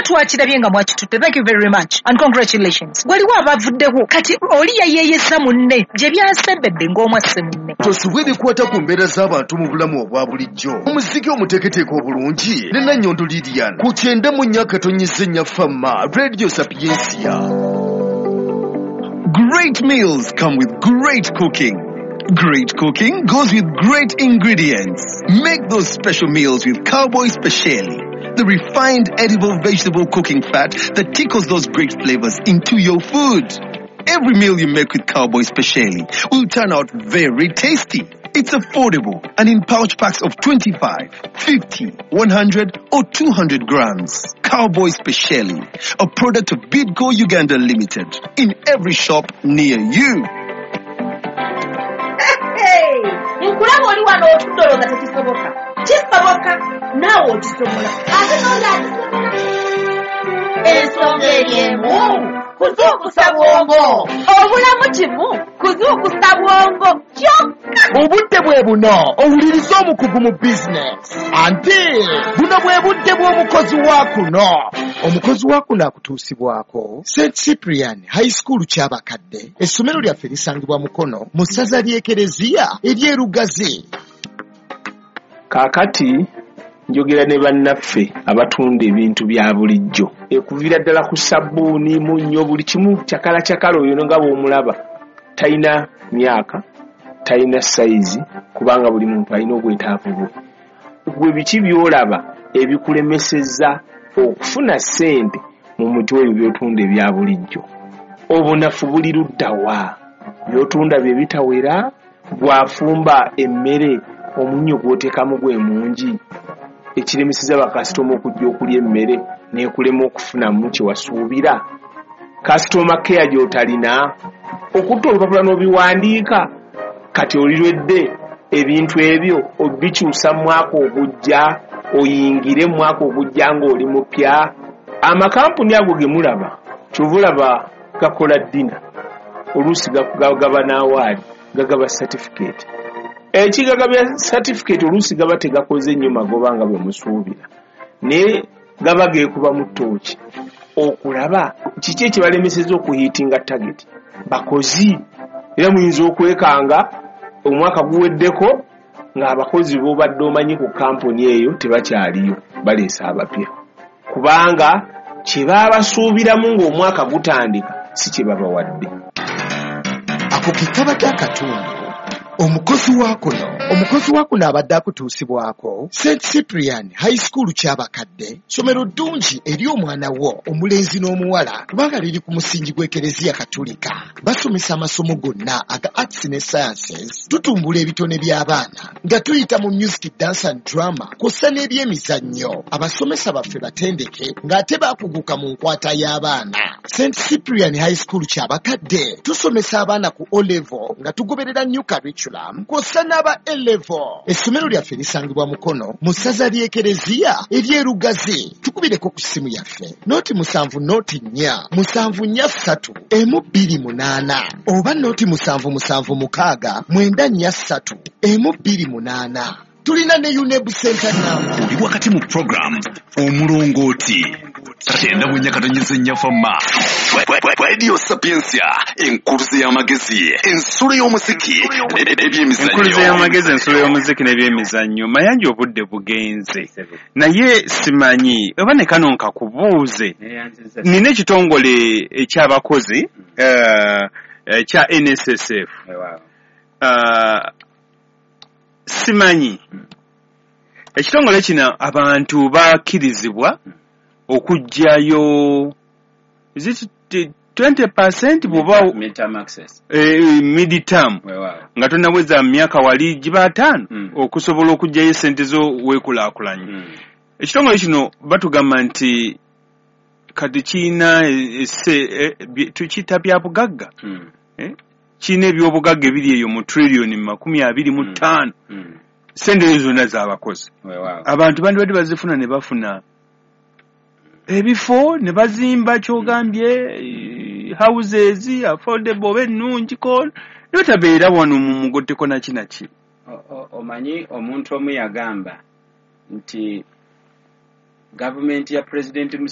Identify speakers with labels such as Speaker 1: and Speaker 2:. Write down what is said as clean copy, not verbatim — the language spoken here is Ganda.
Speaker 1: Twakirabye nga mwakitutte. Thank you very much and congratulations. Waliwo abavuddewo, kati oli yayeeyesa munne gye byasembedde ng'omwasse munne.
Speaker 2: Tosubwa ebikwata ku mbeera z'abantu mu bulamu obwa bulijjo. Omuziki omuteeketeeke obulungi ne Nannyondo Lilian ku 94.4 Fama Radio Sapiensia.
Speaker 3: Great meals come with great cooking. Great cooking goes with great ingredients. Make those special meals with Cowboy Speciali, the refined edible vegetable cooking fat that tickles those great flavors into your food. Every meal you make with Cowboy Speciali will turn out very tasty. It's affordable and in pouch packs of 25, 50, 100 or 200 grams. Cowboy Speciali, a product of Bidco Uganda Limited, in every shop near you.
Speaker 4: Nkulaba oli wano otudde olowooza tekisoboka. Kisoboka, naawe okisobola, ate n'oli akisobola. Ensonga eri emu, kuzuukusa bwongo. Obulamu kimu kuzuukusa bwongo kyokka.
Speaker 5: Obudde bwe buno owuliriza omukugu mu bizinesi, anti buno bwe budde bw'omukozi wa kuno. Omukozi wa kuno akutuusibwako St Cyprian High School Kyabakadde. Essomero lyaffe lisangibwa Mukono mu ssaza ly'Ekereziya ery'Erugazi.
Speaker 6: Kaakati njogera ne bannaffe abatunda ebintu bya bulijjo, ekuviira ddala ku sabbuuni, munnyo, buli kimu kyakala kyakala. Oyo nga bw'omulaba talina myaka, talina sayizi, kubanga buli muntu alina obwetaavu bwe. Gwe biki by'olaba ebikulemesezza okufuna ssente mu muti ebyo by'otunda ebya bulijjo? Obunafu buli ludda wa? By'otunda bye bitawera? Bw'afumba emmere, omunnyo gw'oteekamu gwe mungi, ekiremeseza bakasitoma okujja okulya emmere n'ekulema okufunamu kye wasuubira? Customer care gy'otalina, okutta olupapula n'obiwandiika, kati olirwedde ebintu ebyo obikyusa mu mwaka ogujja, oyingire mu mwaka ogujja ng'oli mupya. Amakampuni ago ge mulaba, kyova olaba gakola dinner, oluusi gagaba n'awaali, gagaba certificate. Ekigagabya certificate oluusi gaba tegakoze nnyo magoba nga bwe musuubira, naye gaba geekuba mu ttooki okulaba kiki ekibalemeseza okuhiitinga target. Bakozi era muyinza okwekanga omwaka guweddeko ng'abakozi b'obadde omanyi ku kampuni eyo tebakyaliyo, baleese abapya, kubanga kye baabasuubiramu ng'omwaka gutandika si kye babawadde.
Speaker 5: Ako ke kabadde akatundu omukozi wa kuno. Omukozi wa kuno abadde akutuusibwako St Cyprian High School Kyabakadde. Ssomero ddungi eri omwana wo omulenzi n'omuwala, kubanga liri ku musingi gw'Ekereziya Katulika. Basomesa amasomo gonna aga arts ne sciences. Tutumbula ebitone by'abaana nga tuyita mu music, dance and drama, kw'ossa n'ebyemizannyo. Abasomesa baffe batendeke ng'ate baakuguka mu nkwata y'abaana. St Cyprian High School Kyabakadde tusomesa abaana ku O level nga tugoberera new curriculum, kw'ossa n'aba A level. Essomero lyaffe lisangibwa Mukono mu ssaza ly'Ekereziya ery'Erugazi. Tukubireko ku ssimu yaffe 070 04 743 128 oba 077 694 128. Tulina ne UNEB center number.
Speaker 3: Oli wakati mu program Omulongooti, 94.4 Fama Radio Sapiensia, enkuluze y'amagezi, ensulo y'omuziki
Speaker 7: Enkuluze
Speaker 3: n'ebyemizannyo.
Speaker 7: y'amagezi, ensulo y'omuziki n'ebyemizannyo. Mayanja, obudde bugenze, naye simanyi oba ne kano nkakubuuze. Nina ekitongole ekyabakozi ekya NSSF. Simanyi ekitongole kino abantu bakkirizibwa okuggyayo, is it 20% bw'oba
Speaker 8: Midterm access.
Speaker 7: Mid-term nga tonnaweza myaka wali giba 50 okusobola okuggyayo esente zo weekulaakulanye. Ekitongole kino batugamba nti kati kirina tukiyita bya bugagga. Kirina ebyobugagga ebiri eyo mu triliyoni 25. Sente ezo zonna z'abakozi. Abantu bandibadde bazifuna ne bafuna ebifo ne bazimba kyogambye houses affordable oba ennungiko, ne batabeera wano mu mugotteko naki naki.
Speaker 8: Omanyi omuntu omu yagamba nti gavumenti ya Pulezidenti